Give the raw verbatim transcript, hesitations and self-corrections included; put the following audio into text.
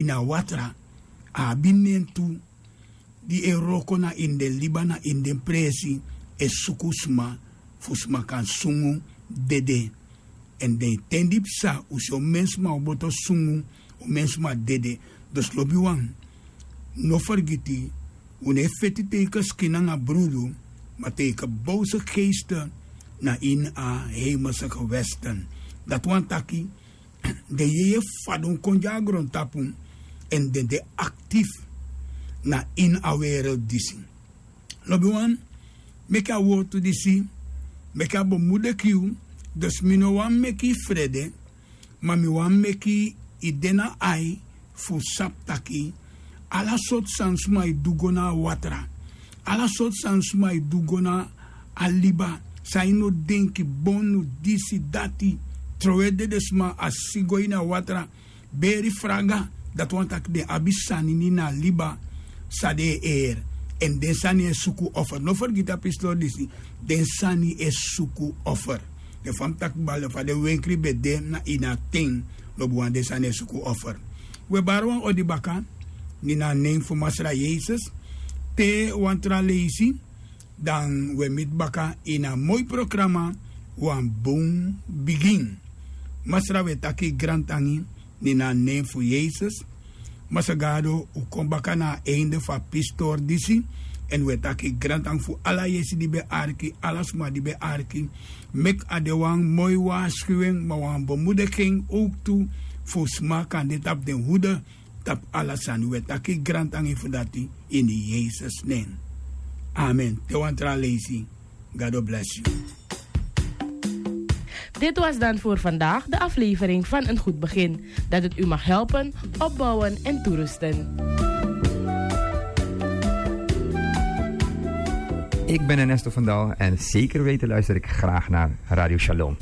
ini a watra. A abi nen tu di e wroko na ini den liba, na ini den presi, e suku sma fu sma kan sungu dede. Èn den ten di psa un si o mensma o boto sungu, o mensma dede. Dus lobiwan, no fergiti, un no e feti teike skin nanga brudu, ma teike bowse geeste na ini a hemelse gewesten. Dati wani taki den yeye fadon kon gi a grontapu, èn den de aktif na ini a wereld disi. Lobiwan, meki a wortu disi, meki a bemude gi yu. Dus mi no wani meki yu frede, ma mi wani meki yu de na ai fu sabi taki ala sortu sani sma e du go na a watra, ala sortu sani sma e du go na a liba, san yu no denki, bonu, disi, dati, trowe dedesma, a si go ini a watra, beri fraga. Dati wani taki den abi sani ini a liba san den e eri. Èn den sani e suku offer. No fergiti a pistori disi, den sani e suku offer. Den fa mi taki bal, fa den wenkri ben de na ini a ten, lobiwan, den sani e suku offer. Wi e bari wan odi baka ini a nen fu Masra Yesus. Te wan tra leisi, dan wi e miti baka ini a moi programa, Wan Bun Bigin. Masra, wi e taki grantangi ini a nen fu Yesus. Masra Gado, un kon baka na a einde fu a pistori disi. Èn wi e taki grantangi fu ala yesi di ben arki, ala sma di ben arki. Meki a de wan moi waarschuwing, ma wan bemoediging ook tu, fu sma kan de tapu den hoede, tapu ala sani. Wi e taki grantangi fu dati ini Yesus nen. Amen. Te wan tra leisi. Gado bless you. Dit was dan voor vandaag de aflevering van Een Goed Begin. Dat het u mag helpen, opbouwen en toerusten. Ik ben Ernesto van Dal en zeker weten luister ik graag naar Radio Shalom.